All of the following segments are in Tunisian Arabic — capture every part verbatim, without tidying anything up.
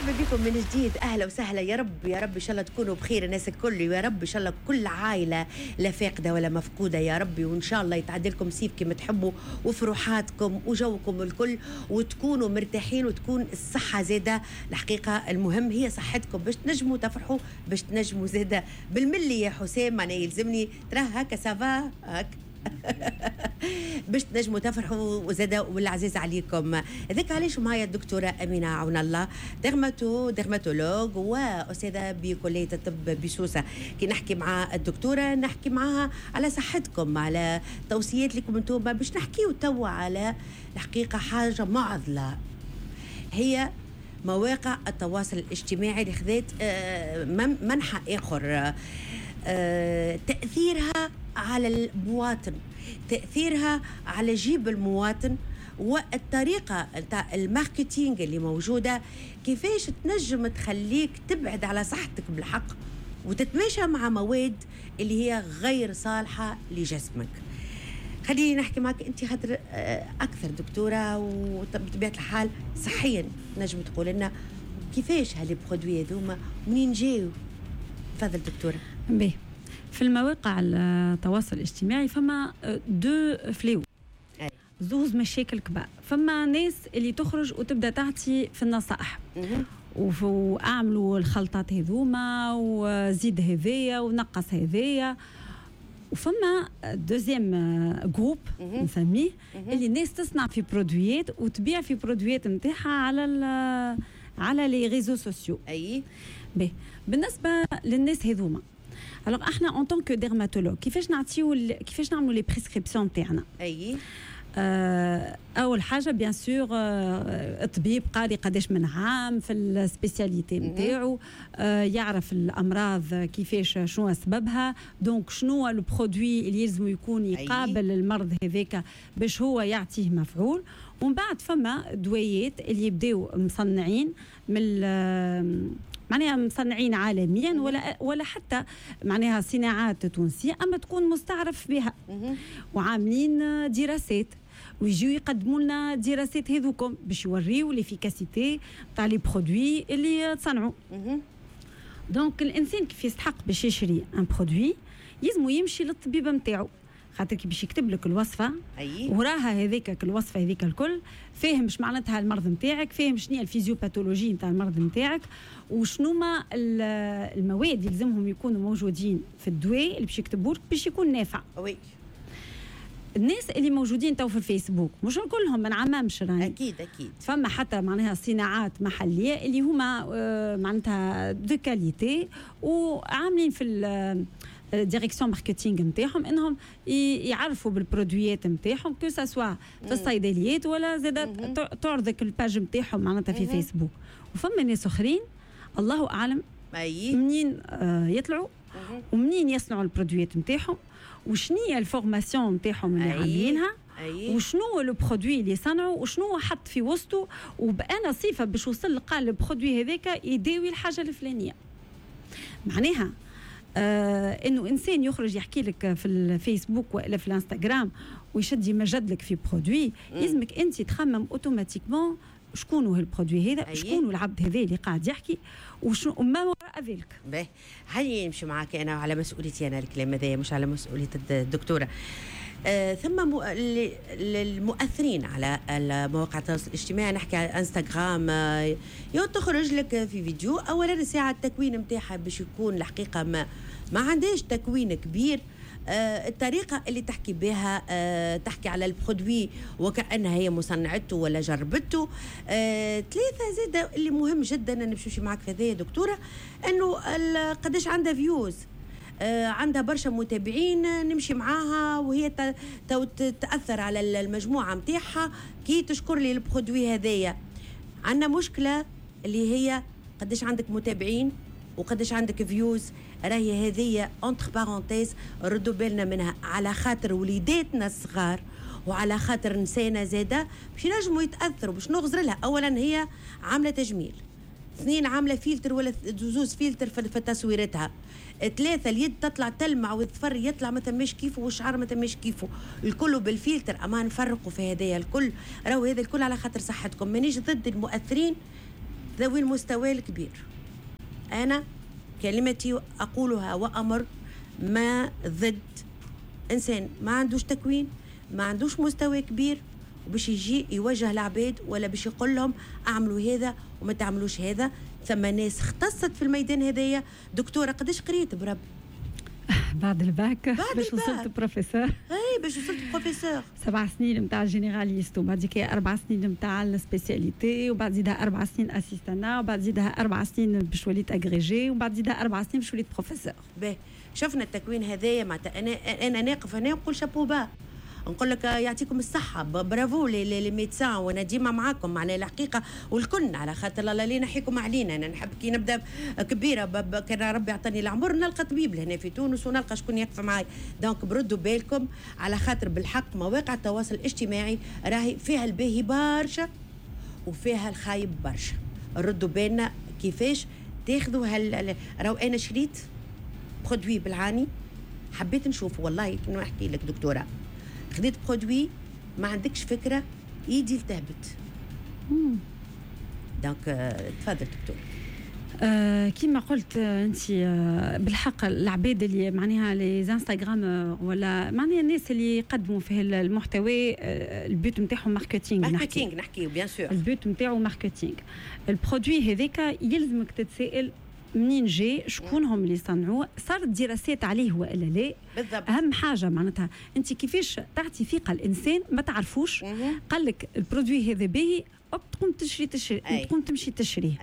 مرحبا بكم من جديد، اهلا وسهلا. يا رب يا رب ان شاء الله تكونوا بخير الناس الكل، يا رب ان شاء الله كل عائلة لا فاقده ولا مفقودة يا ربي، وان شاء الله يتعدلكم صيف كما تحبوا وفروحاتكم وجوكم الكل، وتكونوا مرتاحين وتكون الصحة زاده. الحقيقة المهم هي صحتكم باش تنجموا تفرحوا، باش تنجموا زاده بالملي يا حسام، معناها يلزمني تراه هكا ça va هكا باش تنجموا تفرحوا وزاده والعزيز عليكم. هذاك علاش معايا الدكتورة امينه عون الله، dermato dermatologue واستاذه بكلية الطب بسوسه. كي نحكي مع الدكتورة نحكي معاها على صحتكم، على توصيات لكم انتم، باش نحكيو توا على الحقيقة حاجة معضلة هي مواقع التواصل الاجتماعي اللي خذت آه، منحى اخر، آه، تاثيرها على المواطن، تاثيرها على جيب المواطن، والطريقة نتاع ال marketing اللي موجودة كيفاش تنجم تخليك تبعد على صحتك بالحق وتتماشى مع مواد اللي هي غير صالحه لجسمك. خليني نحكي معك انت خاطر آه، اكثر دكتورة وبطبيعة الحال صحيا نجم تقول لنا كيفاش ها les produits هذوما منين جاو. تفضل دكتوره. باهي، في المواقع التواصل الاجتماعي فما deux fléaux، زوز مشاكل كبار. فما ناس اللي تخرج وتبدا تعطي في النصائح واعملوا الخلطات هذوما وزيد هذايا ونقص هذايا، وفما deuxième groupe نسميه اللي الناس تصنع في produit ات وتبيع في produit ات نتاعها على على les réseaux sociaux. اي باهي، بالنسبة للناس هذوما، alors احنا en tant que dermatologue كيفاش نعطيو، كيفاش نعملوا les prescriptions تاعنا؟ اي آه، اول حاجة bien sûr الطبيب قاري قداش من عام في ال spécialité نتاعو، آه، يعرف الامراض كيفاش، شنو سببها، donc شنو ال produit اللي يلزم يكون يقابل المرض هذاك باش هو يعطيه مفعول. ومن بعد فما دويات اللي يبداو مصنعين من معناها مصنعين عالميا ولا ولا حتى معناها صناعات تونسيه، اما تكون مستعرف بها وعاملين دراسات، ويجيو يقدموا لنا دراسات هذوكم باش يوريو l'efficacité تاع les produits اللي تصنعوا. donc الانسان كيف يستحق باش يشري un produit يلزمو يمشي للطبيب نتاعو، خاطر كي باش يكتب لك الوصفة أي. وراها هذيك الوصفة هذيك الكل فاهم اش معناتها المرض نتاعك، فاهم شنو هي ال physiopathologie نتاع المرض نتاعك، وشنو ما المواد اللي لازمهم يكونوا موجودين في الدواء اللي باش يكتبوا لك باش يكون نافع. oui الناس اللي موجودين تو في الفيسبوك مش كلهم، ما نعممش راني. اكيد اكيد. فما حتى معناها صناعات محليه اللي هما آه، معناتها de qualité وعاملين في direction marketing نتاعهم انهم يعرفوا بال produit ات نتاعهم، que ce soit في الصيدليات ولا زاد تعرضك ال page نتاعهم معناتها في فيسبوك. وفما ناس اخرين الله اعلم أي. منين آه، يطلعوا ومنين يصنعوا ال produit ات نتاعهم وشنو هي ال formation نتاعهم اللي عاملينها وشنو هو le produit اللي صنعوا وشنو حط في وسطه وبأنا صفة باش وصل لقى ال produit هذاك يداوي الحاجة الفلانيه. معناها آه انه انسان يخرج يحكي لك في الفيسبوك والا في الانستغرام ويشد يمجد لك في produit، يلزمك انت تخمم automatiquement شكون هو ال produit هذا، شكون العبد هذا اللي قاعد يحكي، وشنو ما وراء ذلك. باهي، هيا نمشي معاك انا على مسؤوليتي انا الكلام هذا مش على مسؤولية الدكتوره. آه ثم المؤثرين على مواقع التواصل الاجتماعي، نحكي على انستغرام، آه تخرج لك في فيديو اولا ساعة التكوين نتاعها باش يكون الحقيقة ما ما عندهاش تكوين كبير، آه الطريقة اللي تحكي بها آه تحكي على ال produit وكأنها هي مصنعته ولا جربته. آه ثلاثة زاد اللي مهم جدا أنا نمشي معك في هذا يا دكتورة، أنه قداش عندها vues، آه عندها برشا متابعين نمشي معاها وهي تاثر على المجموعة نتاعها كي تشكر لي ال produit هذايا. عندنا مشكلة اللي هي قداش عندك متابعين وقداش عندك vues، راهي هذه entre parenthèses ردوا بالنا منها على خاطر وليداتنا الصغار وعلى خاطر نسانا زاده باش ينجموا يتاثروا. باش نغزر لها اولا هي عامله تجميل، اثنين عامله فلتر ولا زوز فلتر في تصويرتها، ثلاثة اليد تطلع تلمع والظفر يطلع ما ثماش كيفه والشعر ما ثماش كيفه، الكل بالفلتر. اما نفرقوا في هذايا الكل، راهو هذا الكل على خاطر صحتكم. مانيش ضد المؤثرين ذوي المستوى الكبير. انا كلمتي اقولها وامر ما ضد انسان ما عندوش تكوين، ما عندوش مستوى كبير، وباش يجي يوجه العباد ولا باش يقول لهم اعملوا هذا وما تعملوش هذا. ثم ناس اختصت في الميدان هذايا. دكتورة قداش قريت بربي؟ بعد الباك باش وصلت بروفيسور. اي باش وصلت بروفيسور. سبع سنين نتاع généraliste، وبعد كي اربع سنين نتاع ال spécialité، وبعد زيدها اربع سنين assistanat، وبعد زيدها اربع سنين باش وليت agrégée، وبعد زيدها اربع سنين باش وليت بروفيسور. باهي، شفنا التكوين هذايا معناتها انا انا ناقف هنا ونقول chapeau bas، نقول لك يعطيكم الصحة، bravo les les médecins، وانا ديما معاكم معناها الحقيقة والكل، على خاطر لا لا نحيكم علينا. انا نحب كي نبدا كبيرة كان ربي يعطيني العمر نلقى طبيب لهنا في تونس ونلقى شكون يقف معاي. donc بردوا بالكم على خاطر بالحق مواقع التواصل الاجتماعي راهي فيها الباهي برشا وفيها الخايب برشا. ردوا بالنا كيفاش تاخذوا هال راهو انا شريت produit بالعاني، حبيت نشوفه والله كنا نحكي لك دكتورة، خديت produit ما عندكش فكرة يدي التهبت. donc تفضل دكتور. آه كيما قلت انت آه بالحق العباد اللي معناها les instagrammeurs ولا معناها الناس اللي يقدموا في المحتوى، آه ال but نتاعهم marketing. marketing نحكيو bien sûr، ال but نتاعو marketing. ال produit هذاك يلزمك تتسائل منين جاي، شكون هم اللي صنعوه، صارت دراسات عليه والا لا. بالضبط. اهم حاجة معناتها انت كيفاش تعطي ثقة الانسان ما تعرفوش، قال لك ال produit هذا باهي، hop تقوم تشري تشري تقوم تمشي تشريه.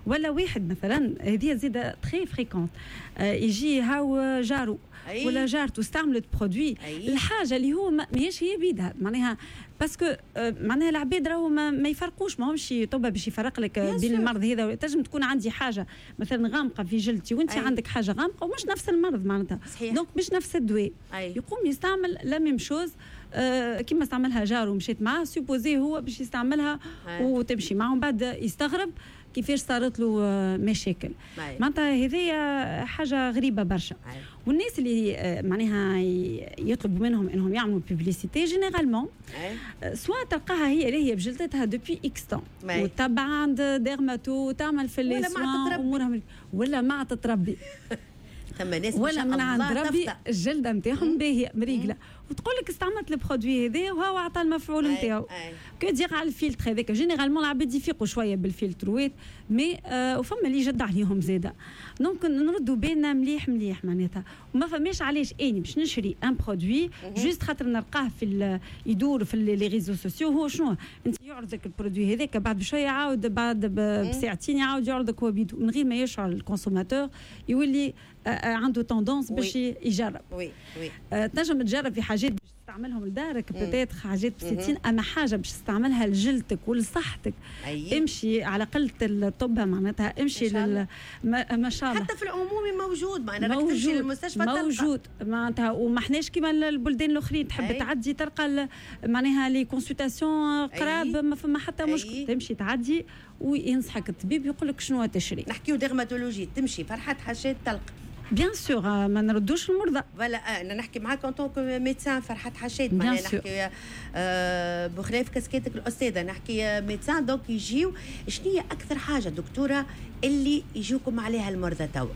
ولا واحد مثلا هذه زيادة très fréquente، آه يجي هاو جارو أي. ولا جارته استعملت produit، الحاجة اللي هو ماهيش هي بيدها معناها، parce que آه معناها العباد راهو ما, ما يفرقوش، ماهمش طبة باش يفرق لك بين المرض هذا. تنجم تكون عندي حاجة مثلا غامقه في جلدتي وانت عندك حاجة غامقه ومش نفس المرض معناتها، donc مش نفس الدواء. يقوم يستعمل la même chose آه كيما استعملها جاره ومشيت معاه، supposé هو باش يستعملها وتمشي معه، ومن بعد يستغرب كيفاش صارت له مشاكل. معناتها هذه حاجة غريبة برشا. والناس اللي معناها يطلبوا منهم انهم يعملوا publicité généralement soit تلقاها هي اللي هي بجلدتها depuis X temps وتبع عند dermato وتعمل في les soins امورها، ولا ما تتربي ثم ناس ولا من عند ربي الجلدة نتاعهم باهيه مريقله، وتقول لك استعملت ال produit هذا وهو عطى المفعول نتاعو. que dire على الفلتر هذاك، généralement العباد يفيقوا شوية بالفلتروات، mais آه وفما اللي يجد عليهم زاده. donc نردوا بالنا مليح مليح معناتها، وما فماش علاش اني باش نشري un produit juste خاطر نلقاه في يدور في les réseaux sociaux. هو شنو انت يعرضك ال produit هذاك، بعد بشوية يعاود بعد بساعتين يعاود يعرضك هو بيدو من غير ما يشعر ال consommateur، يولي عنده tendance باش يجرب. oui oui تنجم تجرب في حاجات باش تستعملهم لدارك peut-être حاجات بسيطين، اما حاجة باش تستعملها لجلدك ولصحتك امشي على قلة الطب معناتها، امشي لل ما, ما شاء الله حتى في العمومي موجود، معناتها راك تمشي للمستشفى موجود معناتها. وما احناش كيما البلدان الاخرين تحب أي. تعدي تلقى معناها les consultations قراب، ما فما حتى مشكل، تمشي تعدي وينصحك الطبيب يقول لك شنو تشري. نحكيو dermatologie، تمشي فرحات حشاد تلقى bien sûr ما نردوش المرضى. voilà انا نحكي معاك en tant que médecin فرحات حشاد، معناها نحكي آه بخلاف كاسكيتك الاستاذة، نحكي médecin. donc يجيو شنو هي اكثر حاجة دكتورة اللي يجيوكم عليها المرضى توا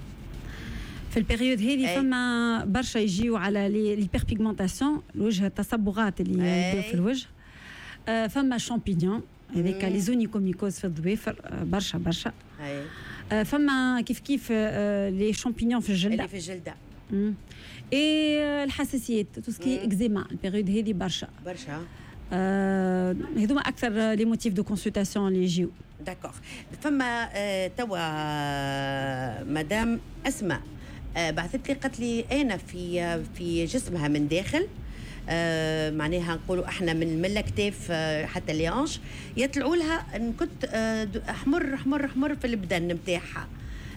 في ال période هذه؟ فما برشا يجيو على l'hyperpigmentation، الوجه، التصبغات اللي يبداو في الوجه. آه فما شامبينيون هذيك les onychomycoses في الظوافر برشا برشا. آه فما كيف كيف آه les champignons في الجلدة اللي في الجلدة et الحساسيات، tout ce qui est eczéma، ال période هذه برشا برشا. آه هذوما اكثر les motifs de consultation اللي يجيو. d'accord. فما آه توا مدام اسماء آه بعثت لي قالت لي انا في في جسمها من داخل، آه معناها نقولوا احنا من من الاكتاف آه حتى les hanches يطلعوا لها نكت آه احمر احمر احمر في البدن نتاعها.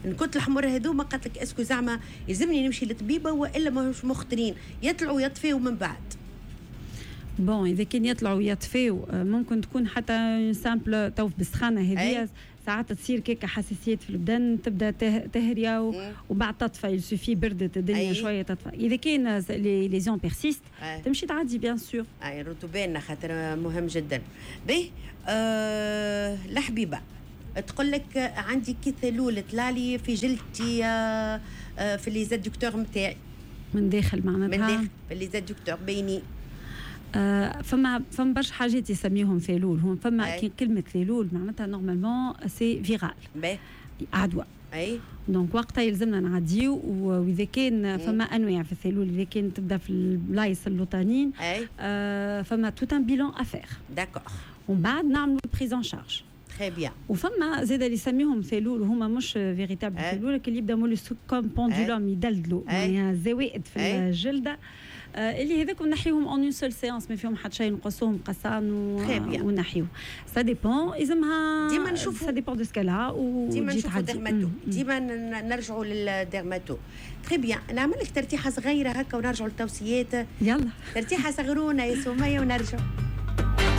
نكت الحمر هذوما قالت لك est-ce que زعما يلزمني نمشي للطبيبه والا ماهوش مخطرين يطلعوا يطفيوا من بعد؟ bon اذا كان يطلعوا يطفيوا ممكن تكون حتى simple تو بالسخانه هذه ساعات تصير كيكة حساسيات في البدن، تبدا تهريه وبعد تطفى، il suffit بردت الدنيا شوية تطفى. اذا كان les lésions persistent تمشي تعدي bien sûr. اي ردوا بالنا خاطر مهم جدا. به أه الحبيبة تقول لك عندي كي ثالول طلالي في جلدتي، آه، آه، في les adducteurs نتاعي. من داخل معناتها؟ من داخل، في les adducteurs بيني. آه فما فما برشا حاجات يسميهم ثالول. هم فما كلمة ثالول معناتها normalement c'est viral، عدوى. اي donc وقتها يلزمنا نعديو، واذا كان فما انواع في الثالول، اذا كان تبدا في البلايص اللوطانين آه فما tout un bilan à faire. d'accord ومن بعد نعملوا prise en charge. très bien. وفما زاد اللي يسميهم ثالول وهما مش véritable ثالول، اللي يبدا mollusques comme pendulum، يدلدلوا يعني زوائد في الجلده، آه، اللي هذاك نحيهم en une seule séance، ما فيهم حتى شيء، نقصوهم قصان ونحيو. ça dépend، يلزمها ديما نشوفوا ça dépend de ce qu'elle a. ديما نشوفوا dermato، ديما نرجعوا لل dermato. très bien، نعمل لك ترتيحه صغيرة هكا ونرجعوا للتوصيات. يلا. ترتيحه صغرونه يا سميه ونرجعوا.